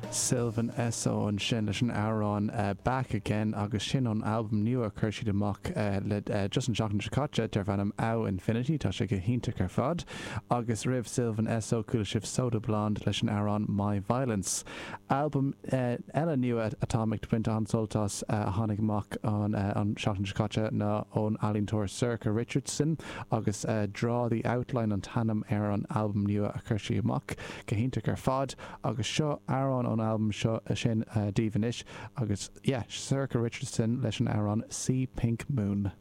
Sylvan Esso ansin leis an amhrán Back Again agus sin ón albam nua a chuir siad amach le just an tseachtain seo caite darb ainm Ow Infinity. Tá sé go hiontach ar fad. Agus roimh Sylvan Esso chuala sibh Soda Blonde leis an amhrán My Violence. Albam eile nua atáim ag baint an-sult as a tháinig amach an tseachtain seo caite ná ón ealaíontóir Sorcha Richardson agus Draw the Outline an t-ainm ar an albam nua a chuir sí amach. Go hiontach ar fad. Agus seo amhrán ón albam seo sin daoibh anois agus yeah, Sorcha Richardson leis an amhrán See Pink Moon.